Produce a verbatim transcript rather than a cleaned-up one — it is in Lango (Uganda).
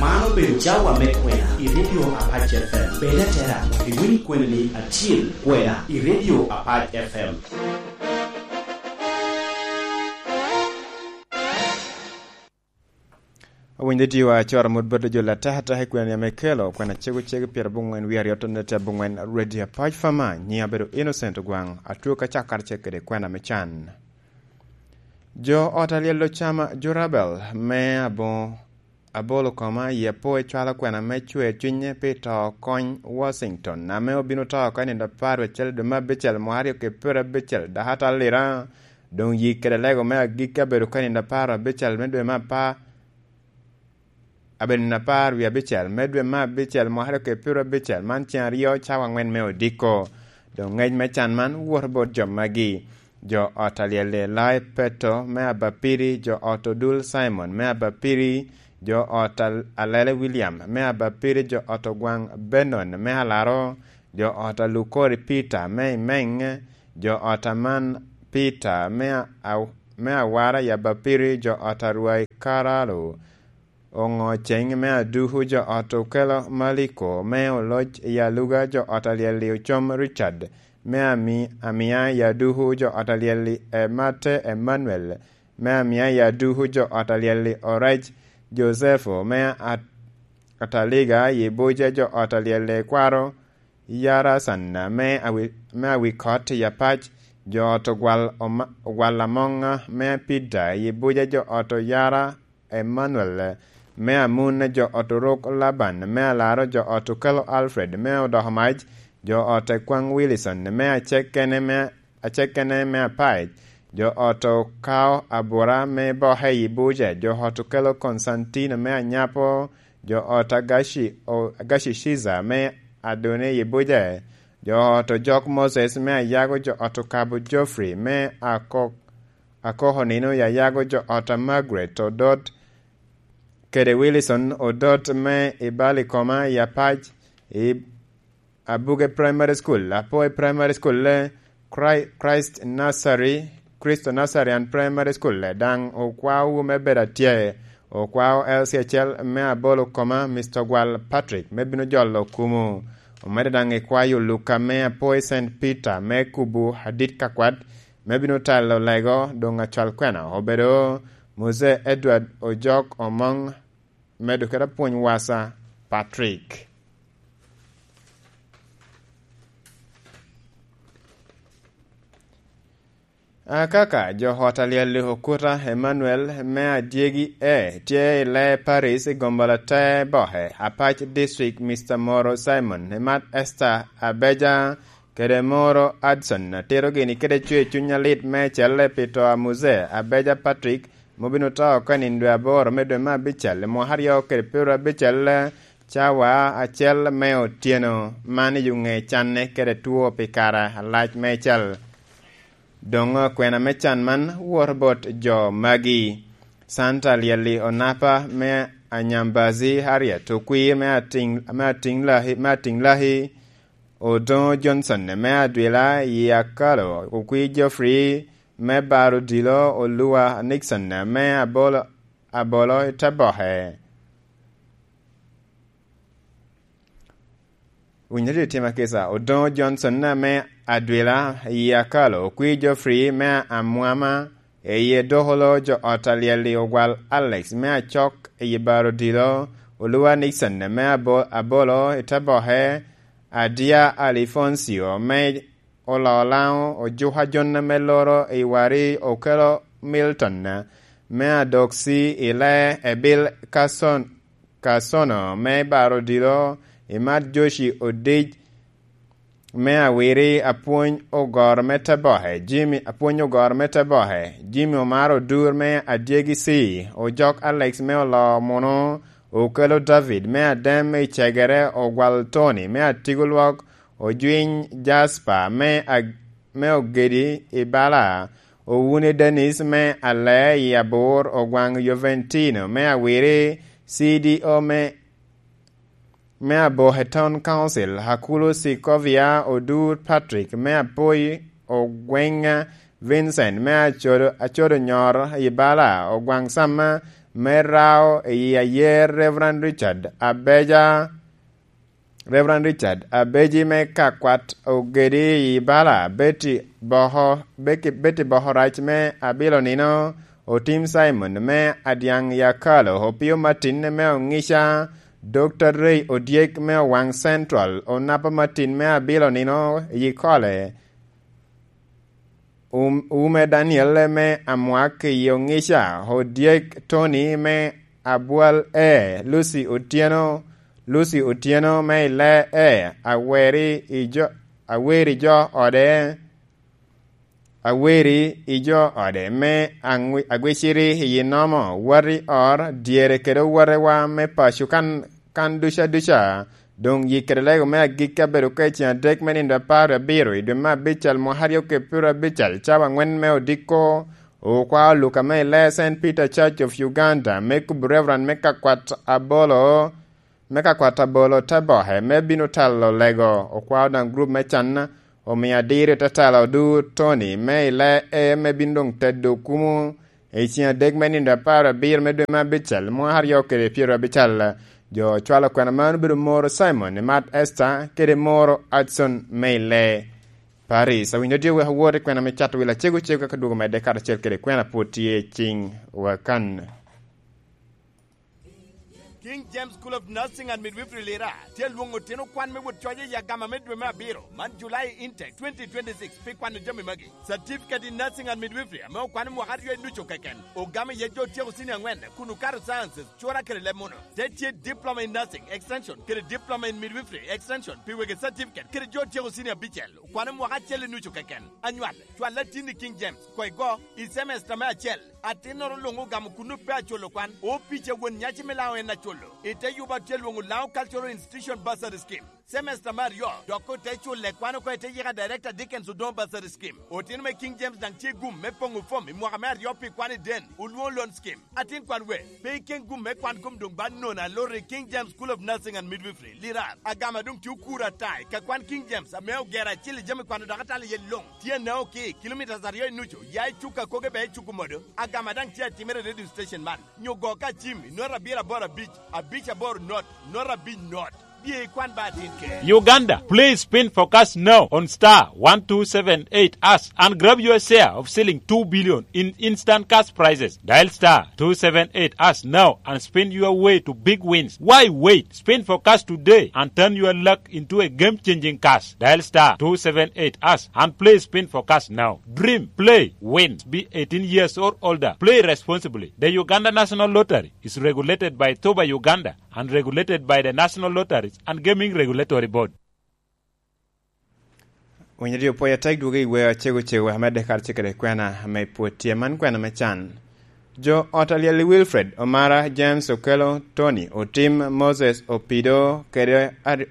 Man obedo cawa me kwena i Radio Apac F M. Bed atera, iwiny kweni acil kwena i Radio Apac F M. Owinyo tiwa acoro mot bot jo latekateka i kwena ame kelo kwena cego cego pyerabongwen wie aryo tonne te abongwen Radio Apac Fama, nyiŋ abedo Innocent Ogwaŋ, atwo ka cakkarce kede kwena me can. Jo ot alyel ocama Jurabel me aboŋo abolo koma i apo ecwalo kwena me cwer cwinye pi to kony Washington, ame obino to oko i nino apar acel dwe me abicel mwaka aryo kede pyerabicel, dok atalira doŋ yik kede lego me agikki abedo ka i nino apar abicel me dwe me apar, abedo nino apar wie abicel me dwe me abicel mwaka aryo kede pyerabicel, man ceŋ aryo cawa aŋwen me odiko. Doŋ ŋec me can man woto bot jo magi: jo ot alyel-li Lai Peto me Abapiri, jo ot Odul Simon me Abapiri, jo ot Al-, Alele William me Abapiri, jo ot Ogwaŋ Benon me Alaro, jo ot Alukori Peter me Imeng, jo ot Aman Peter me a-, a-, me Awara i Abapiri, jo ot Arwai Karalo Oŋo Ceŋ me Aduku, jo ot Okelo Maliko me Oloc i Aluga, jo ot alyel-li Ocom Richard me Ami-, Amia i Aduku, jo ot alyel-li Emate Emmanuel me Amia i Aduku, jo ot alyel-li Orec Josepho me At-, Ataliga i Buca, jo ot alyel-li Kwaro Yarasan me Awi-, me Awikot i Apac, jo ot Ogwal Oma-, Ogwal Amoŋa me Pida i Buca, jo ot Oyara Emmanuel me Amun, jo ot Orok Laban me Alaro, jo ot Okelo Alfred me Odoko Mac, jo ot Ekwaŋ Wilson me Acekene me, Acekene me Apac, jo ot Okao Abura me Boke i Buca, jo ot Okelo Konstantino me Anyapo, jo ot Agaci, o-, Agaci Ciza me Adone i Buca, jo ot Ojok Moses me Ayago, jo ot Okabo Geoffrey me Akok-, Akoko Nino i Ayago, jo ot Margaret Odot kede Wilson Odot me i Balikoma i Apac, i Abuge Primary School, Apoi Primary School, Chri-, Christ Nursery, Christo Nursery and Primary School, daŋ okwao wu me bedo atye, okwao L C acel me Abolo Koma, Mister Gwal Patrick, me bino jolo kumu. Omedde daŋ ikwayo Luka me Apoi Saint Peter me kubu adit kakwat, me bino telo lego doŋ acwal kwena obedo Mose Edward Ojok Omoŋ, medo kede apwony wasa Patrick. Akaka jo ot alyel Okuta Emmanuel me Adyegi E tye i Lee Paris i gombolote Boke, Apac District, Mister Moro Simon, imat Esther Abeja, kede Moro Adson, atito gini kede cwer cuny alit me celle pi to a Muse Abeja Patrick, ma obino to oko i nino dwe aboro me dwe me abicel i mwaka aryo kede pyerabicel, cawa acel me otyeno, man i ŋe canne kede two pi kare alac meicel. Doŋ kwena me can man woto bot jo magi: Santa Lyelli Onapa me Anyambazi, Harriet Okwir me Atiŋ-, me Atiŋlahi, me Atiŋlahi, Odoŋo Johnson me Adwila i Akalo, Okwir Geoffrey me Baro Dilo, Oluwa Nixon me Abolo, Abolo i Teboke. Winyo tye tim akisa, Odoŋo Johnson me Adwila i Akalo, Okwir Geoffrey me Amwama, i Edokolo, jo ot alyel i Ogwal Alex me Acok i Baro Dilo, Oluwa Nixon me Abo-, Abolo i Teboke, Adia Alifoncio me Oloo Laŋo, Ojuka Jonna me Loro i Wari, Okelo Milton me Adoksi i Lee, Ebil Kason-, Kasono me Baro Dilo, imat Joshi Odic me Awiri, Apwony Ogoro me Teboke, Jimmy, Apwony Ogoro me Teboke, Jimmy Omar Odur me Adyegi C, Ojok Alex me Oloo Munu, Okelo David me Adem i Cegere, Ogwal Tony me Atigo Lwok, Ojwiny Jasper me Ag-, me Ogedi i Bala, Owune Dennis me Alee i Abor, Ogwaŋ Joventino me Awiri, C D O me, me Aboke Town Council, Akulu Sikovia, Odur Patrick me Apoi, Ogweng Vincent me Acodo, Acodo Nyor i Bala, Ogwaŋ Samma me rao i ayer Reverend Richard Abeja, Reverend Richard Abeji me Kakwat Ogedi i Bala, Betty Boho, Becky, Betty Boho Rac me Abilo Nino, Otim Simon me Adyaŋ Yakalo, Opio Martin me Oŋica, Doctor Ray Odyek me Owaŋ Central, Onapa Martin me Abilo Nino i Kole, Um-, Ume Daniel me Amwak i Oŋica, Odyek Tony me Abwal E, Lucy Otieno, Lucy Otieno me Ile E, Aweri i jo, Aweri jo ode, Aweri i jo ode me Aŋwi-, Agwiciri i Inomo, Wati Or, dyere kede owotewa me paco kan, kan duca duca, Doŋ yik kede lego me agikki abedo ka i ceŋ adek me nino apar wie abiro i dwe me abical mwaka aryo kede pyero abical, cawa aŋwen me odiko, okwao Luka me i lee Saint Peter Church of Uganda, me kubo Reverend me kakwat abolo, me kakwat abolo te boke, me bino telo lego. Okwao daŋ grup me can, omio adiri te telo du Tony, me i lee E, me bino doŋ tedo kumo, I ceŋ adek me nino apar abiro me dwe me abical, mwaka aryo kede pyero abical, jo ocwalo kwena man obedo Moro Simon, Imat Esther, kede Moro Adson me i lee Paris. Awinyo dye wek awot i kwena me cato wil acego cego ka dwogo medde karacel kede kwena pwod tye i ciŋ wakan. King James School of Nursing and Midwifery Lira tye lwoŋo otino kwan me wot coc i agama me dwe me abiro man, July intake twenty twenty-six, pi kwano jami magi. Certificate in Nursing and Midwifery ame okwano mwaka aryo i nucu keken, ogamo iye jo otyeko senior aŋwen kun okato sciences, cura kede leb muno. Te tye Diploma in Nursing Extension kede Diploma in Midwifery Extension pi wegi certificate kede jo otyeko senior abicel, okwano mwaka acel i nucu keken. Anywal, cwal atin i King James, koŋ igo i semester me acel. Atinnoro luŋ ogamo kun pe aculo kwan, opic a won nyaci me Laŋo en aculo. I te yuba tye lwoŋo Laŋo Cultural Institution Bursary Scheme. Semester me aryo, dok ote culle kwan oko i te yika Director Dickens Odongo Bursary Scheme. Otino me King James daŋ tye gum me poŋo fom i mwaka me aryo pi kwan i den, olwoŋo loan scheme. Atin kwan we, pe iken gum me kwan kom doŋ ba nono aloro i King James School of Nursing and Midwifery, Lirar. Agama doŋ tye okuro ata i ka kwan King James ame ogero acil i jami kwano dok atalo iye luŋ. Tye Naoki, kilomitas aryo i nucu, ya i Cuka Koge bea i Cuku Modo. Agama daŋ tye atimere i radio station man. Nyo go ka cim i not abiro aboro abic, abic aboro not, not abic not. Bye ikwan ba atin ker. Uganda, please spin for cash now on star one two seven eight hash and grab your share of shilling two billion in instant cash prizes. Dial star two seven eight hash now and spin your way to big wins. Why wait? Spin for cash today and turn your luck into a game-changing cash. Dial star two seven eight hash and play Spin for Cash now. Dream, play, win. Be eighteen years or older. Play responsibly. The Uganda National Lottery is regulated by Toba Uganda and regulated by the National Lotteries and Gaming Regulatory Board. Winyo dye opoyo atek dwogo i wer acego cego wek amedde karacel kede kwena ame pwod tye. Man kwena me can. Jo ot alyel i Wilfred, Omara, James, Okello, Tony, Otim, Moses, Opido, kede Ar-,